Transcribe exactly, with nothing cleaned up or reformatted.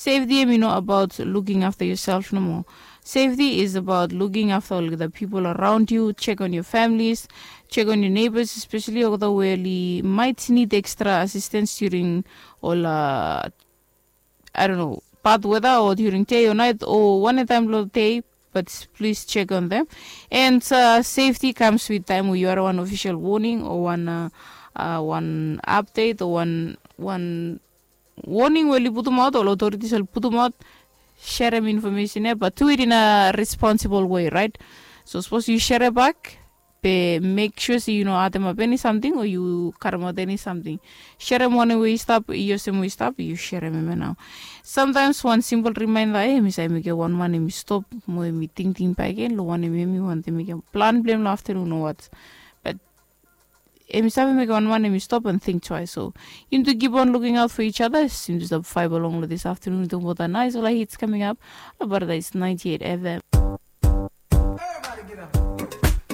Safety em i no abaot luking afta yoself nomo. Safety is abaot luking afta olgeta pipol araon yu, chek on yu familis, chek on yu neighbors, especially olgeta we oli might need extra assistance during ol uh, I don't know, bad weather o during day o night o wanetaim long day. But please check on them. And uh, safety comes with time we yu are one official warning o one uh, uh, one update o one one warning we oli putumaot o authorities oli putumaot. Sherem information ya but do it in a responsible way, right? So sapos yu shere bak, be mek sua se yu no ademap eni samting o yu karemaot eni samting. Sherem wanem we i stap i olsem we i stap, yu sherem em ya nao. Samtaims wan simpel rimainda, em i save mekem wan man em i stop mo em i tingting bakegen long wanem em i wantem mekem plan blong em long aftanun o wat. Bat em i save mekem wan man em i stop and think twice. So yumi tu keep on looking out for each other. Yumi tu stap faeva long long this afternoon. Talking about the nice ola hits coming up. About this ninety-eight F M.